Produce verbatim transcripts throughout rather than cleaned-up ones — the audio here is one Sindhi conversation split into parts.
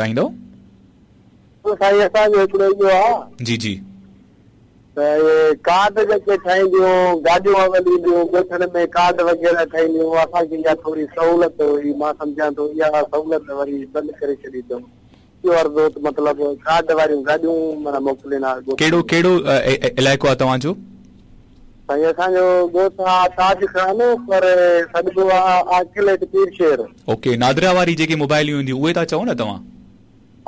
چاهيندؤ؟ سائين اسان جو هڪڙو اهو آهي. جي جي. ته اهي ڪارڊ جيڪي ٺاهينديون، گاڏيون اول اينديون ڳوٺن ۾ ڪارڊ وغيره ٺاهينديون، اسان کي اها ٿوري سهولت هئي، مان سمجهان ٿو اها سهولت وري بند ڪري ڇڏي اٿئون. اهو عرض هو ته مطلب ڪارڊ واريون گاڏيون معنيٰ موڪلين ها ڳوٺن ڪهڙو ۾. ڪهڙو علائقو آهي توهان جو؟ سائين اسان جو ڳوٺ آهي تاج خان پر سڏبو آهي عاقل هيٺ پير شير. اوڪي نادرا واري جيڪي موبائليون اينديون اهي ٿا چئو نه توهان؟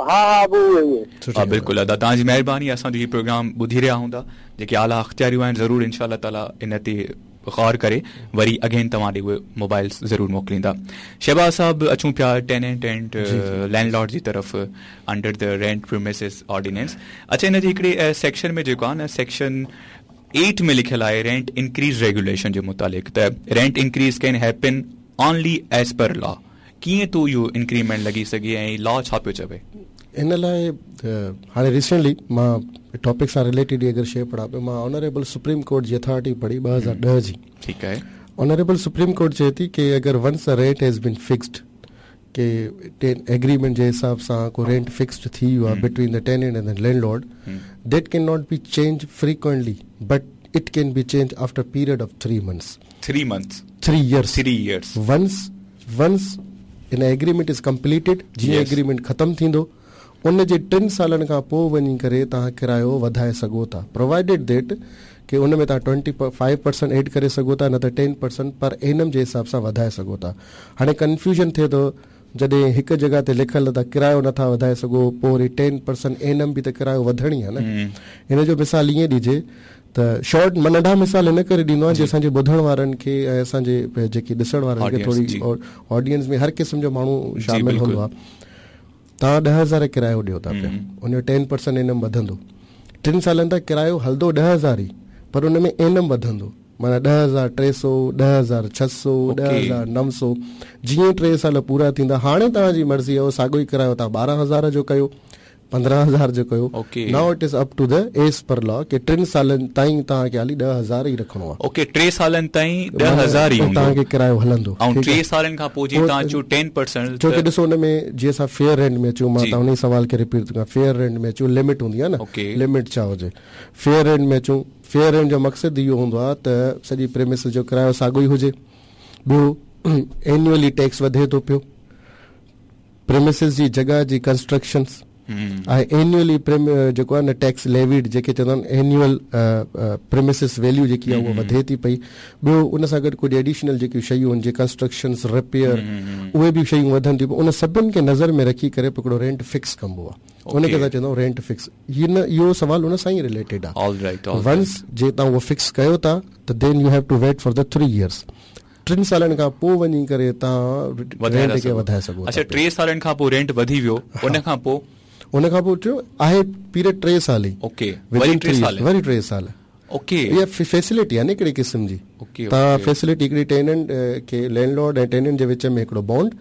ها ها ابو اهي اهي. ها بلڪل ادا توهان جي مهرباني اسان جو هي پروگرام ٻڌي رهيا هوندا جيڪي اعليٰ اختياريون آهن ضرور انشاء الله تعالي ان تي غور ڪري وري اگين توهان ڏي اهي موبائلز ضرور موڪليندا. شهباز صاحب اچون پيا ٽيننٽ اينڊ لينڊ لارڊ جي طرف under the rent premises ordinance. اڇا ان جي هڪڙي سيڪشن ۾ جيڪو آهي نه سيڪشن ايٽ ۾ لکيل آهي رينٽ انڪريز ريگيوليشن جي متعلق ته rent increase can happen only as per law. ڪيئن ٿو اهو انڪريمينٽ لڳي سگهي ۽ لا ڇا پيو چوي؟ ان لاء هاڻي ريسينٽلي مان ٽاپڪ سان رليٽيڊ اگر شيء پڙهان پيو، مان آنريبل سپريم ڪورٽ جي اٿارٽي پڙهي ٻه هزار ڏهه جي. ٺيڪ آهي. آنريبل سپريم ڪورٽ چئي ٿي ڪي اگر once the rent has been fixed, K agreement جي حساب سان ڪو رينٽ فڪسڊ ٿي ويو آهي between the tenant and the landlord, that can not be change frequently but it can be change after period of three months. Three months? Three years. Three years. Once, once in agreement is completed, جيئن ايگريمينٽ ختم ٿيندو ان جي ٽن سالن کان پوءِ وڃي ڪري توهان ڪرايو وڌائي سگهو ٿا، پرووائيڊيڊ that ڪي ان ۾ توهان ٽوئنٽي فائيو پرسنٽ ايڊ ڪري سگهو ٿا، نه ته ٽين پرسنٽ پر اينم جي حساب سان وڌائي سگهو ٿا. هاڻي ڪنفيوزن ٿئي ٿو جڏهن هڪ جڳهه تي لکيل ته ڪرايو نٿا وڌائي سگهو، پوءِ وري ٽين پرسنٽ اينم به ته ڪرايو وڌڻ ئي آهي نه. هن جو مثال ائين ڏجي ته شارٽ مان ننڍا مثال هن ڪري ڏيندو آهيان جي اسان جي ٻڌڻ وارن کي ۽ اسان جي جيڪي ڏسڻ وارن کي ٿوري آڊينس ۾ هر قسم جو ماڻهو شامل هوندو آهي. توهان ڏهه هزار ڪرايو ڏيو ٿا پيا، ان جو ٽين پرسنٽ اينم وڌندو، ٽن سالن تائين ڪرايو هلندو ڏهه هزار ئي، پر ان ۾ اينم وڌندو، معنيٰ ڏهه هزار ٽي سؤ، ڏهه هزار ڇهه سؤ، ڏهه هزار نو سؤ، جيئن ٽي سال پورا ٿيندا هاڻي توهان جي مرضي آهي اهو ساڳيو ئي ڪرايو توهان ٻارهن هزار جو ڪيو، پندرهن هزار جو ڪيو. Now it is up to the as per law ڪي ٽن سالن تائين توهان کي حالي ڏهه هزار ئي رکڻو آهي. اوڪي، ٽي سالن تائين ڏهه هزار ئي هوندو توهان کي ڪرايو هلندو. ۽ ٽي سالن کان پوءِ جيئن توهان چيو ٽين پرسنٽ، ڇو ڪي ڏسو ان ۾ جيئن اسان فيئر رينٽ ۾ اچون، مان توهان ان ئي سوال کي رپيٽ ٿو ڪيان، فيئر رينٽ ۾ اچون لمٽ هوندي آهي نه، لمٽ ڇا هجي؟ فيئر رينٽ ۾ اچون، فيئر رينٽ جو مقصد اهو هوندو آهي ته سڄي پريمسز جو ڪرايو ساڳيو ئي هجي، ٻيو اينيولي ٽيڪس وڌي ٿو پيو، پريمسز جي جڳهه جي ڪنسٽرڪشنس ۽ اينيولي جيڪو آهي نه ٽيڪس ليويڊ جيڪي چوندا آهن اينيول پريمسز ويليو جيڪي آهي اها وڌي ٿي پئي، ٻيو ان سان گڏ ڪجهه ايڊيشنل جيڪيون شيون آهن جيئن ڪنسٽرڪشنس رپيئر اهي به شيون وڌن ٿيون، ان سڀني کي نظر ۾ رکي ڪري پوءِ هڪڙو رينٽ فڪس ڪبو آهي، ان کي اسان چوندا آهيون رينٽ فڪس. هي نه اهو سوال ان سان ئي رليٽيڊ آهي. ونس جي توهان اهو فڪس ڪيو ٿا ته then you have to wait for the three years, ٽن سالن کان پوءِ وڃي ڪري توهان رينٽ کي وڌائي سگهو ٿا. اڇا، ٽي سالن کان پوءِ رينٽ وڌي ويو، ان کان پوءِ؟ ان کان پوءِ ٽيون آهي پيريڊ ٽي سال ئي. اوڪي، وري ٽي سال، وري ٽي سال. اوڪي، اها فيسلٽي آهي نه هڪڙي قسم جي. توهان فيسلٽي هڪڙي ٽيننٽ کي لينڊ لارڊ ۽ ٽيننٽ جي وچ ۾ هڪڙو بانڊ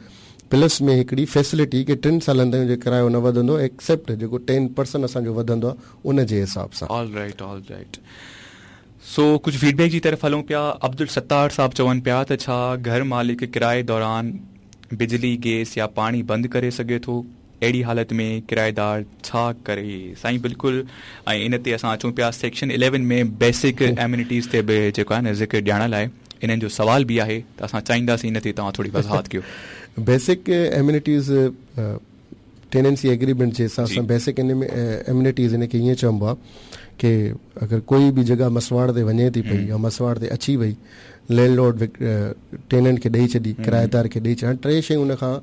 پلس ۾ هڪڙي فيسلٽي ڪي ٽن سالن تائين جيڪو ڪرايو نه وڌندو ايڪسيپٽ جيڪو ٽين پرسنٽ اسان جو وڌندو آهي ان جي حساب سان. All right, all right. سو ڪجهه فيڊ بيڪ جي طرف هلون پيا. عبدل ستار صاحب چون پيا ته ڇا گهر مالڪ ڪرائي دوران بجلي، گيس يا پاڻي بند ڪري سگهي ٿو؟ اهڙي حالت ۾ ڪرائيدار ڇا ڪري؟ سائين بلڪل، ۽ ان تي اسان اچون پيا سيڪشن اليون ۾ بيسڪ ايمينٽيز تي به جيڪو آهي نه ذڪر ڄاڻڻ لاءِ انهن جو سوال به آهي ته اسان چاهينداسين ان تي توهان ٿوري وضاحت ڪيو. بيسڪ ايمينٽيز ٽيننسي ايگريمينٽ جي حساب سان بيسڪ ايمينٽيز ان کي ائين چئبو آهي ڪي اگر ڪوئي به جڳهه مسواڙ تي وڃي ٿي پئي يا مسواڙ تي اچي وئي، لينڊ لارڊ ٽيننٽ کي ڏيئي ڇڏي، ڪرائيدار کي ڏيئي ڇڏي. هاڻي ٽي شيون ان کان،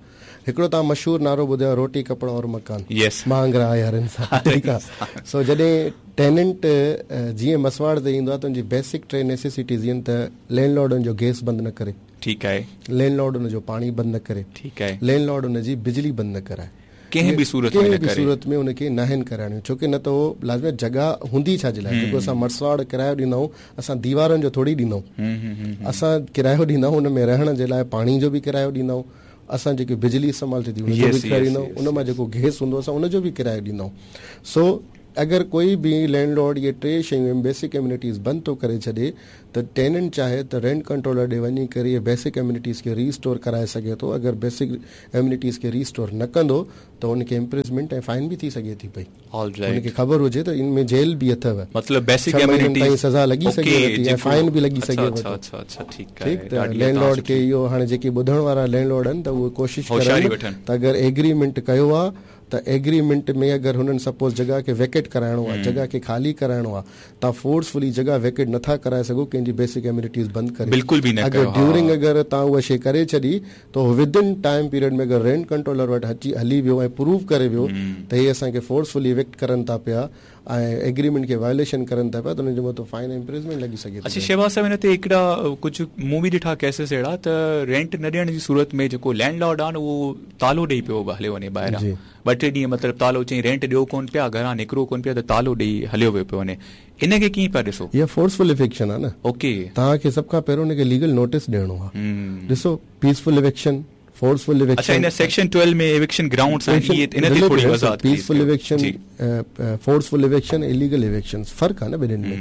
هڪڙو توهان مشهور نعرو ٻڌيو آهي، روٽي ڪپڙو اور مڪان، مهانگرا آهي هر انسان. ٺيڪ آهي. سو جڏهن ٽيننٽ جيئن مسواڙ تي ايندو آهي ته ان جي بيسڪ ٽي نيسيسٽيز آهن ته لينڊ لارڊ ان جو گيس بند نه ڪري، ٺيڪ آهي، لينڊ لارڊ ان جو پاڻي بند نه ڪري، ٺيڪ آهي، لينڊ لارڊ ان جي بجلي بند نه ڪرائي، ڪنهن به صورت ۾ ڪنهن به صورت ۾ ان کي ناهن ڪرائڻيون، ڇو ڪه نه ته اهو لازمي جڳهه هوندي ڇا جي لاءِ؟ جيڪو اسان مسواڙ ڪرايو ڏيندا آهيون، اسان ديوارن جو ٿوري ڏيندا آهيون، اسان ڪرايو ڏيندا آهيون ان ۾ رهڻ جي لاءِ پاڻي جو به ڪرايو ڏيندا آهيون، اسان جيڪي بجلي استعمال ٿئي ٿي ان جو به ڪرايو ڏيندا آهيون، ان مان جيڪو گيس هوندو اسان ان جو به ڪرايو ڏيندا آهيون. سو اگر ڪوئي به لينڊ لارڊ اهي ٽي شيون بيسڪ ايمينٽيز بند ٿو ڪري ڇڏي ته ٽيننٽ چاهي ته رينٽ ڪنٽرولر ڏي وڃي ڪري اهي بيسڪ ايمينٽيز کي ريسٽور ڪرائي سگهي ٿو. اگر بيسڪ ايمينٽيز کي ريسٽور نه ڪندو ته ان کي امپرزنمينٽ ۽ فائن به ٿي سگهي ٿي پئي. ان کي خبر هجي ته ان ۾ جيل به اٿو، مطلب بيسڪ ايمينٽيز تائين سزا لڳي سگهي ٿي ۽ فائن به لڳي سگهي ٿي. اڇا اڇا ٺيڪ آهي. ٺيڪ ته لينڊ لارڊ کي اهو هاڻي جيڪي ٻڌڻ وارا لينڊ لارڊ آهن ته اهي ڪوشش ڪرن ته اگر ايگريمينٽ ڪيو آهي ته ايگريمينٽ ۾ اگر هنن سپوز جڳهه کي ويڪيٽ ڪرائڻو آهي، جڳهه کي خالي ڪرائڻو آهي، توهان فورسفلي جڳهه ويڪيٽ نٿا ڪرائي سگهو ڪنهن جي بيسڪ ايمينٽيز بند ڪري، بلڪل به نه اگر ڊيورنگ اگر توهان اها شيءِ ڪري ڇڏي ته ود ان ٽائيم پيريڊ ۾ اگر رينٽ ڪنٽرولر وٽ اچي هلي ويو ۽ پروف ڪري ويو ته هي اسان کي فورسفلي ويڪٽ ڪرن ٿا پيا ۽ ايگريمينٽ کي وايوليشن ڪرن ٿا پيا ته ان جو مطلب فائن ۽ امپرزنمينٽ لڳي سگهي ٿي. اڇا شهباز صاحب هن تي هڪڙا ڪجهه مون به ڏٺا ڪيسز اهڙا ته رينٽ نه ڏيڻ جي صورت ۾ جيڪو لينڊ لارڊ آهي نه اهو تالو ڏيئي پيو هليو وڃي ٻاهران، ٻه ٽي ڏينهن مطلب تالو چئي رينٽ ڏيو ڪونه پيا، گهران نڪرو ڪونه پيا ته تالو ڏيئي هليو ويو پيو وڃي، ان کي ڪيئن پيا ڏسو؟ اها فورسفل ايوڪشن آهي نه. اوڪي توهان کي سڀ کان پهريون ان کي ليگل نوٽيس ڏيڻو آهي. ڏسو پيسفل ايوڪشن، فورسفل ايوڪشن. اڇا ان سيڪشن ٽويلو ۾ ايوڪشن گرائونڊز آهن، اهي ان تي ٿوري وضاحت peaceful eviction, forceful eviction, illegal eviction فرق آهي نه ٻنهين ۾.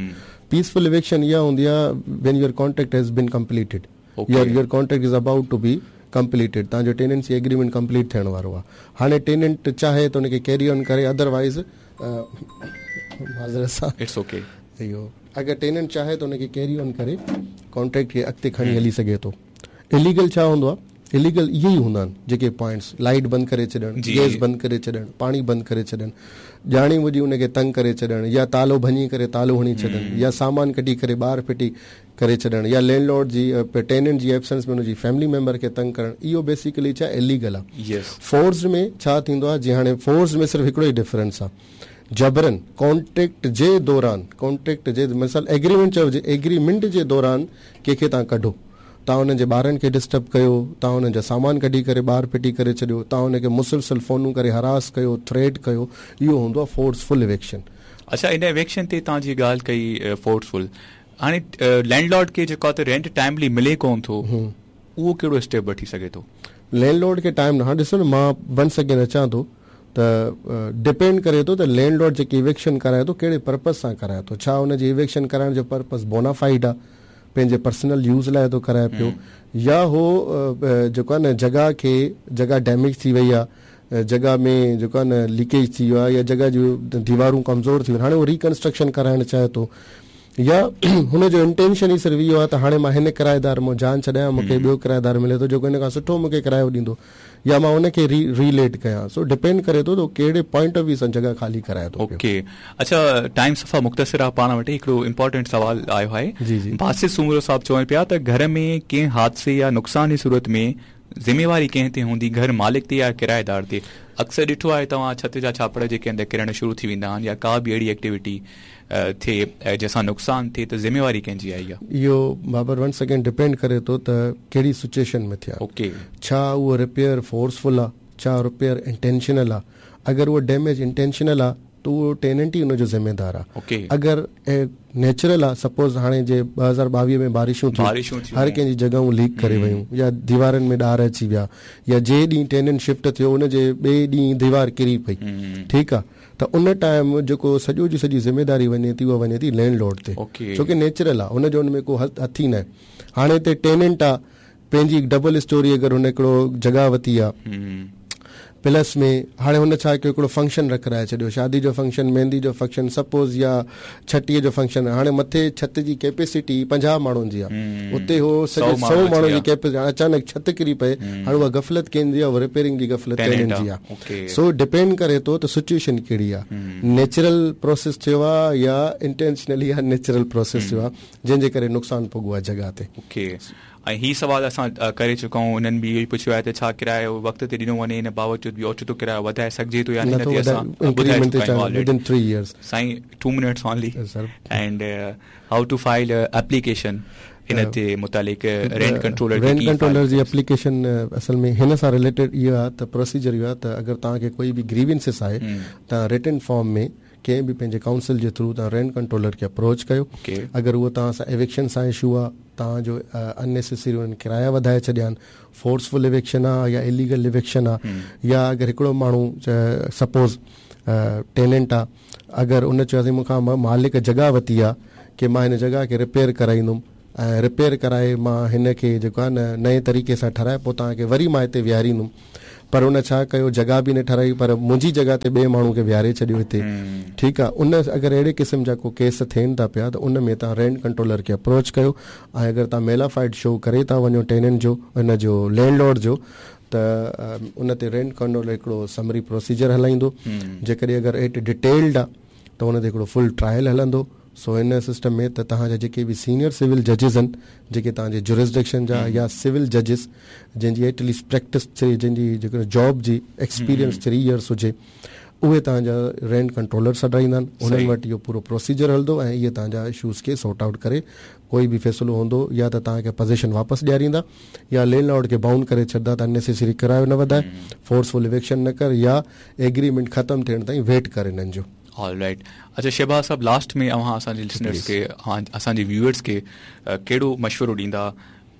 پيسفل ايوڪشن اها هوندي آهي when your contract has been completed, your your contract is about to be completed, توهان جو ٽيننسي ايگريمينٽ ڪمپليٽ ٿيڻ وارو آهي. هاڻي ٽيننٽ چاهي ته ان کي ڪيري آن ڪري، ادروائز معذرت سان it's okay, اهو اگر ٽيننٽ چاهي ته ان کي ڪيري آن ڪري ڪانٽريڪٽ کي اڳتي کڻي هلي سگهي ٿو. اليگل ڇا هوندو آهي؟ اليگل اهي ئي هوندا آهن جيڪي پوائنٽس، لائيٽ بند ڪري ڇڏڻ، گيس بند ڪري ڇڏڻ، پاڻي بند ڪري ڇڏڻ، ڄاڻي ٻجهي ان کي تنگ ڪري ڇڏڻ، يا تالو ڀڃي ڪري تالو هڻي ڇڏڻ، يا سامان ڪڍي ڪري ٻاهر ڦٽي ڪري ڇڏڻ، يا لينڊ لارڊ جي ٽيننٽ جي ايبسنس ۾ ان جي فيملي ميمبر کي تنگ ڪرڻ، اهو بيسيڪلي ڇا اليگل آهي. فورس ۾ ڇا ٿيندو آهي؟ جيئن هاڻي فورس ۾ صرف هڪڙو ئي ڊفرنس آهي، جبرن ڪانٽريڪٽ جي دوران، ڪانٽريڪٽ جي مثال ايگريمينٽ چئجي، ايگريمينٽ جي دوران ڪنهن کي توهان ڪڍو، توهان انهن جي ٻارن کي ڊسٽرب ڪيو، توهان انهن جا سامان ڪڍي ڪري ٻاهر ڦٽي ڪري ڇڏيو، توهان ان کي مسلسل فونون ڪري هراس ڪيو، ٿريٽ ڪيو، اهو هوندو آهي فورسفل ايوڪشن. اڇا ان ايوڪشن تي توهان جي ڳالهه ڪئي فورسفل، هاڻي لينڊ لارڊ کي جيڪو آهي ته رينٽ ٽائيملي ملي ڪونه ٿو، اهو ڪهڙو اسٽيپ وٺي سگهي ٿو؟ لينڊ لارڊ کي ٽائيم نه، هاڻي ڏسو نه مان ونس اگين اچان ٿو ته ڊپينڊ ڪري ٿو ته لينڊ لارڊ جيڪي ايوڪشن ڪرائي ٿو ڪهڙي پرپز سان ڪرائي ٿو. ڇا ان جي ايوڪشن ڪرائڻ جو پرپز بونافائيڊ آهي، پنهنجي پرسنل يوز لاءِ ٿو ڪرائي پيو، يا هو جيڪو آهي نه جڳهه کي، جڳهه ڊيميج ٿي وئي آهي، جڳهه ۾ جيڪو آهي نه ليڪيج ٿي ويو آهي، يا جڳهه جون ديوارون ڪمزور ٿي ويون، هاڻي هو ريڪنسٽرڪشن ڪرائڻ چاهي ٿو، يا هن جو انٽينشن ئي صرف اهو آهي ته هاڻي مان هن ڪرائيدار مان جان ڇڏايان، مون کي ٻيو ڪرائيدار ملي ٿو جيڪو هن کان سٺو مون کي ڪرايو ڏيندو، يا مان ان کي ري ريليٽ ڪيان. سو ڊپينڊ ڪري ٿو ته ڪهڙي پوائنٽ آف ويو سان جڳهه خالي ڪرائي ٿو. اوڪي اڇا ٽائيم صفا مختصر آهي پاڻ وٽ، هڪڙو امپورٽنٽ سوال آيو آهي. جي جي باسط سومرو صاحب چون پيا ته گهر ۾ ڪنهن حادثي يا نقصان جي صورت ۾ ذميواري ڪنهن تي هوندي، گهر مالڪ تي يا ڪرائيدار تي؟ اڪثر ڏٺو آهي توهان ڇت جا ڇاپڙ جيڪي اندر ڪرڻ شروع ٿي ويندا آهن يا ڪا به اهڙي ايڪٽيوٽي ٿئي جنهن سان نقصان ٿئي ته ذميواري ڪنهن جي آئي آهي؟ اهو بابر ونس اگين ڊپينڊ ڪري ٿو ته ڪهڙي سچوئيشن ۾ ٿيا. اوڪي ڇا اهو رپيئر فورسفل آهي، ڇا رپيئر انٽينشنل آهي؟ اگر اهو ڊيميج انٽينشنل آهي ته اهو ٽيننٽ ئي ان جو ذميدار آهي. اوڪي اگر نيچرل آهي، سپوز هاڻي جي ٻه هزار ٻاويهه ۾ بارشون ٿيون، هر ڪنهن جي جڳهون ليڪ ڪري ويون، يا ديوارن ۾ ڏار اچي ويا، يا جنهن ڏينهن ٽيننٽ شفٽ ٿيو ان جي ٻئي ڏينهن ديوار ڪري پئي، ٺيڪ آهي، ته ان ٽائيم جيڪو سڄو جي سڄي ذميداري وڃي ٿي اها وڃي ٿي لينڊ لارڊ تي، ڇو ڪه نيچرل آهي، ان جو ان ۾ ڪو هٿ ئي نه آهي. هاڻي هتي ٽيننٽ آهي، پنهنجي ڊبل اسٽوري اگر هن هڪڙو جڳهه ورتي آهي، پلس ۾ هاڻي هن ڇا ڪيو، هڪڙو فنڪشن رکرائي ڇڏيو، شادي جو فنڪشن، مهندي جو فنڪشن سپوز، يا ڇٽيءَ جو فنڪشن. هاڻي مٿي ڇت جي ڪيپيسٽي پنجاهه ماڻهن جي آهي، اتي هو سڄي سؤ ماڻهن جي ڪيپيسٽي، هاڻي اچانڪ ڇت ڪري پئي، هاڻي اها غفلت ڪنهن جي آهي، اها رپيئرنگ جي غفلت ٽيننٽ جي آهي. سو ڊپينڊ ڪري ٿو ته سچوئيشن ڪهڙي آهي، نيچرل پروسيس ٿيو آهي يا انٽينشنلي يا نيچرل پروسيس ٿيو آهي جنهن جي ڪري نقصان پڳو آهي جڳهه تي. اوڪي ۽ هي سوال اسان ڪري چڪا آهيون، انهن به اهو ئي پڇيو آهي ته ڇا ڪرايو وقت تي ڏنو وڃي ان باوجود به اوچتو ڪرايو وڌائي سگهجي ٿو يا نه؟ هن تي اسان ٻڌائي چڪا آهيون آلريڊي. سائين two minutes only and how to file application ان تي متعلق رينٽ ڪنٽرولر رينٽ ڪنٽرولر جي ايپليڪيشن اصل ۾ هن سان رليٽيڊ اهو آهي ته پروسيجر اهو آهي ته اگر توهان کي ڪوئي به گريوينسز آهي توهان رٽن فارم ۾ ڪنهن به پنهنجي ڪائونسل جي ٿرو توهان رينٽ ڪنٽرولر کي اپروچ ڪيو. اگر اهو توهان سان ايوڪشن سان اشو آهي، توهان جو اننيسيسري انهن ڪرايا وڌائي ڇڏيا آهن، فورسفل ايوڪشن آهي يا اليگل ايوڪشن آهي، يا اگر هڪڙو ماڻهو سپوز टेनेंट आहे, अगरि उन चयो मूंखां मालिक जॻह वरिती आहे की मां हिन जॻह खे रिपेयर कराईंदुमि ऐं रिपेयर कराए मां हिन खे जेको आहे न नए तरीक़े सां ठाराए पोइ तव्हांखे वरी मां हिते विहारींदुमि, पर उन छा कयो जॻह बि न ठाराई पर मुंहिंजी जॻह ते ॿिए माण्हू खे विहारे छॾियो हिते। ठीकु आहे, उन अगरि अहिड़े क़िस्म जा को केस थियनि था पिया त उन में तव्हां रेंट कंट्रोलर खे अप्रोच कयो ऐं अगरि तव्हां मेलाफाइड शो करे था वञो टेनेंट जो हिन जो लैंडलॉर्ड जो त उन ते रेंट कंट्रोलर हिकिड़ो समरी प्रोसीजर हलाईंदो। जेकॾहिं अगरि एट डिटेल्ड आहे त उन ते हिकिड़ो फुल ट्रायल हलंदो। सो इन सिस्टम में त तव्हांजा जेके बि सीनियर सिविल जजिस आहिनि जेके तव्हांजे जुरिस्डिक्शन जा या सिविल जजिस जंहिंजी एटलीस्ट प्रैक्टिस जंहिंजी जेको जॉब जी एक्सपीरियंस थ्री इयर्स हुजे उहे तव्हांजा रेंट कंट्रोलर सॾाईंदा आहिनि, उन्हनि वटि इहो पूरो प्रोसीजर हलंदो ऐं इहे तव्हांजा इशूज़ खे सॉर्ट आउट करे कोई बि फ़ैसिलो हूंदो या त तव्हांखे पोज़ीशन वापसि ॾियारींदा या लैंडलॉर्ड खे बाउंड करे छॾंदा त अननेसेसरी किरायो न वधाए, फोर्सफुल इविक्शन न कर या एग्रीमेंट ख़तमु थियण ताईं वेट करे हिननि जो। All right. अच्छा शहबाज साहब, लास्ट में अव्हां असांजे लिसनर्स खे असांजे व्यूअर्स खे कहिड़ो मशवरो ॾींदा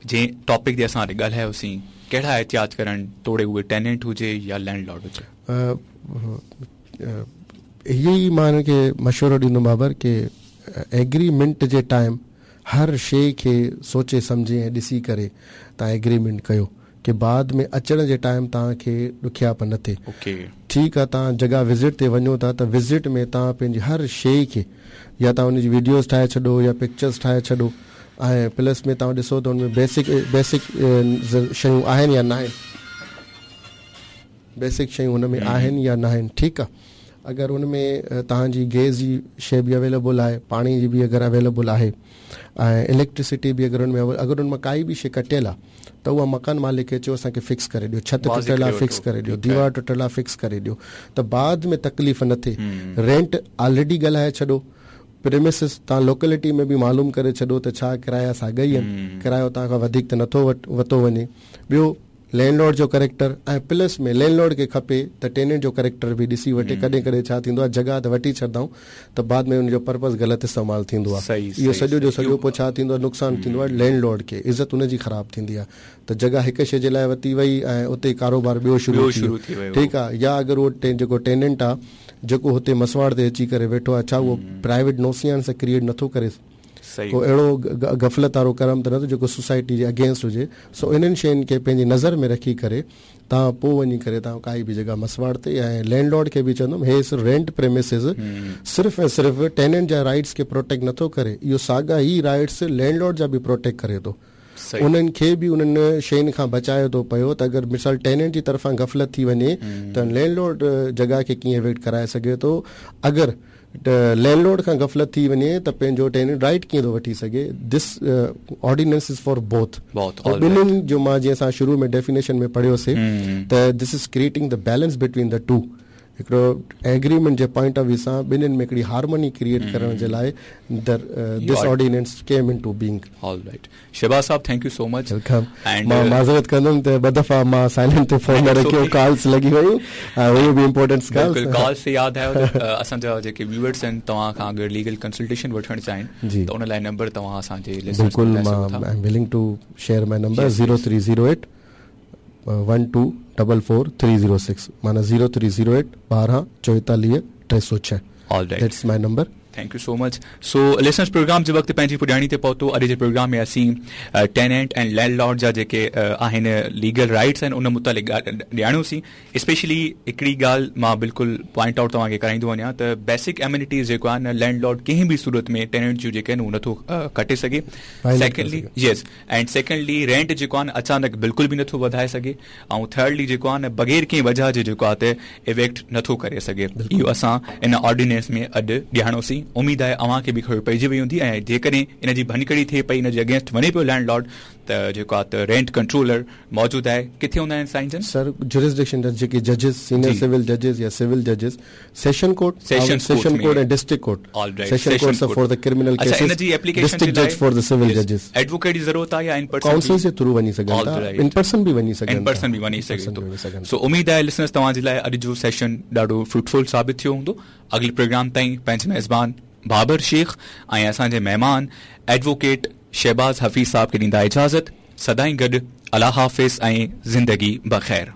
जंहिं टॉपिक ते असां ॻाल्हायोसीं, कहिड़ा एहतियात करण तोड़े उहे टेनेंट हुजे या लैंडलॉर्ड हुजे? इहो ई मां हिननि खे मशवरो ॾींदुमि बाबर की एग्रीमेंट जे टाइम हर शइ खे सोचे सम्झे ऐं ॾिसी करे तव्हां एग्रीमेंट कयो कि बाद में अचण जे टाइम तव्हांखे ॾुखियाप न थिए। ठीकु आहे, तव्हां जॻह विज़िट ते वञो था त विज़िट में तव्हां पंहिंजी हर शइ खे या तव्हां उनजी वीडियोज़ ठाहे छॾो या पिक्चर्स ठाहे छॾो ऐं प्लस में तव्हां ॾिसो त हुन में बेसिक बेसिक शयूं आहिनि या न आहिनि, बेसिक शयूं हुन में आहिनि या न आहिनि। ठीकु आहे, अगरि हुन में तव्हांजी गैस जी शइ बि अवेलेबल आहे, पाणी जी बि अगरि अवेलेबल आहे ऐं इलेक्ट्रिसिटी बि अगरि हुन में अगरि हुन मां काई बि शइ कटियल आहे त उहा मकान मालिक खे चयो असांखे फिक्स करे ॾियो, छत टुटियल आहे फिक्स करे ॾियो, दीवार टुटियल आहे फिक्स करे ॾियो, त बाद में तकलीफ़ न थिए। रेंट ऑलरेडी ॻाल्हाए छॾो, प्रेमिसिस तव्हां लोकेलिटी में बि मालूम करे छॾो त छा किराया साॻा ई आहिनि, किरायो तव्हां खां वधीक त नथो वरितो वञे। ॿियो लैंडलॉर्ड जो करेक्टर ऐं प्लस में लैंडलॉर्ड खे खपे त टेनेंट जो करेक्टर बि ॾिसी वठे। कॾहिं कॾहिं छा थींदो आहे जॻह त वठी छॾंदा आहियूं त बाद में हुनजो पर्पज़ ग़लति इस्तेमालु थींदो आहे। इहो सॼो जो सॼो पोइ छा थींदो आहे नुक़सानु थींदो आहे लैंडलॉर्ड खे, इज़त हुनजी ख़राबु थींदी आहे त जॻह हिकु शइ जे लाइ वरिती वई ऐं उते कारोबार ॿियो शुरू थी वियो। ठीकु आहे, या अगरि उहो जेको टेनेंट आहे जेको हुते मसवाड़ ते अची करे वेठो आहे, छा उहो प्राइवेट नोसियान सां क्रिएट नथो करे, को अहिड़ो गफ़लत वारो करम त न जेको सोसाइटी जे अगेंस्ट हुजे। सो इन्हनि शयुनि खे पंहिंजी नज़र में रखी करे तव्हां पोइ वञी करे तव्हां काई बि जॻह मसवाड़ ते ऐं लैंडलॉर्ड खे बि चवंदुमि हे सिर्फ़ रेंट प्रेमिसिस सिर्फ़ ऐं सिर्फ़ टेनेंट जा राइट्स खे प्रोटेक्ट नथो करे, इहो साॻा ई राइट्स लैंडलॉर्ड जा बि प्रोटेक्ट करे थो, उन्हनि खे बि उन्हनि शयुनि खां बचाए थो पियो त अगरि मिसाल टेनेंट जी तरफ़ां गफ़लत थी वञे त लैंडलॉर्ड जॻह खे कीअं वेट कराए सघे थो, अगरि लैंडलॉर्ड खां गफ़लत थी वञे त पंहिंजो टेनेंट राइट कीअं थो वठी सघे। This ordinance is for both. ॿिन्हिनि जो मां जीअं असां शुरू में डेफिनेशन में पढ़ियोसीं त this is creating the balance between the two, हिकिड़ो agreement J point of view सां ॿिन्हिनि में हिकिड़ी हार्मनी क्रिएट करण जे लाइ this ordinance came into being. All right Shahbaz sahab, thank you so much. Welcome. मां माज़रत कंदुमि त ॿ दफ़ा मां साइलेंट ते फ़ोन न रखियो, कॉल्स लॻी वयूं ऐं हुयूं बि इम्पोर्टेंट कॉल्स। बिल्कुलु, कॉल्स से यादि आयो त असांजा जेके व्यूअर्स आहिनि तव्हां खां अगरि लीगल कंसल्टेशन वठणु चाहिनि त उन लाइ नंबर तव्हां असांजे लिसनर्स बिल्कुलु, मां I am willing to share my number zero three zero eight one two double four three zero six, माना ज़ीरो थ्री ज़ीरो एट ॿारहं चोएतालीह टे सौ छह। All right, that's my number. Thank you so much. So listeners, programme जे वक़्तु पंहिंजी पुॼाणी ते पहुतो। अॼु जे प्रोग्राम में असीं टेनेंट ऐं लैंडलॉर्ड जा जेके आहिनि लीगल राइट्स आहिनि उन मुतालिक़ ॼाणियोसीं। स्पेशली हिकिड़ी ॻाल्हि मां बिल्कुलु पॉइंट आउट तव्हांखे कराईंदो वञां त बेसिक एम्यूनिटीज़ जेको आहे न लैंडलॉर्ड कंहिं बि सूरत में टेनेंट जूं जेके आहिनि उहो नथो कटे सघे। Secondly yes and secondly rent जेको आहे न अचानक बिल्कुलु बि नथो वधाए सघे ऐं थर्डली जेको आहे न बग़ैर कंहिं वजह जे जेको आहे त इवेक्ट नथो करे सघे। इहो असां इन ऑर्डिनेंस में अॼु ॼाणोसीं। उम्मीद आहे अव्हांखे बि ख़बर पइजी वई हूंदी ऐं जेकॾहिं इन जी भञकड़ी थिए पई, इन जे अगेंस्ट वञे पियो लैंडलॉर्ड त जेको आहे त रेंट कंट्रोलर मौजूदु आहे। किथे हूंदा आहिनि साईं जन? सर जुरिस्डिक्शन जा जेके जजिस, सीनियर सिविल जजिस या civil जजिस, session court, session session court ऐं district court. Session court for the criminal cases, अच्छा इन जी एप्लीकेशन डिस्ट्रिक्ट जज फॉर the civil जजिस। एडवोकेट जी ज़रूरत आहे या in person? Council J through वञी सघनि था, इन पर्सन बि वञी सघनि, इन पर्सन बि वञी सघे थो। सो उम्मीद आहे लिसनर्स तव्हां जे लाइ अॼु जो सेशन ॾाढो फ्रूटफुल साबित थियो हूंदो। अॻिले प्रोग्राम ताईं पंहिंजे मेज़बान बाबर शेख ऐं असांजे महिमान एडवोकेट शहबाज हफ़ीज़ साहब खे ॾींदा इजाज़त। सदाईं गॾु, अलाह हाफ़िज़ ऐं ज़िंदगी बख़ैर।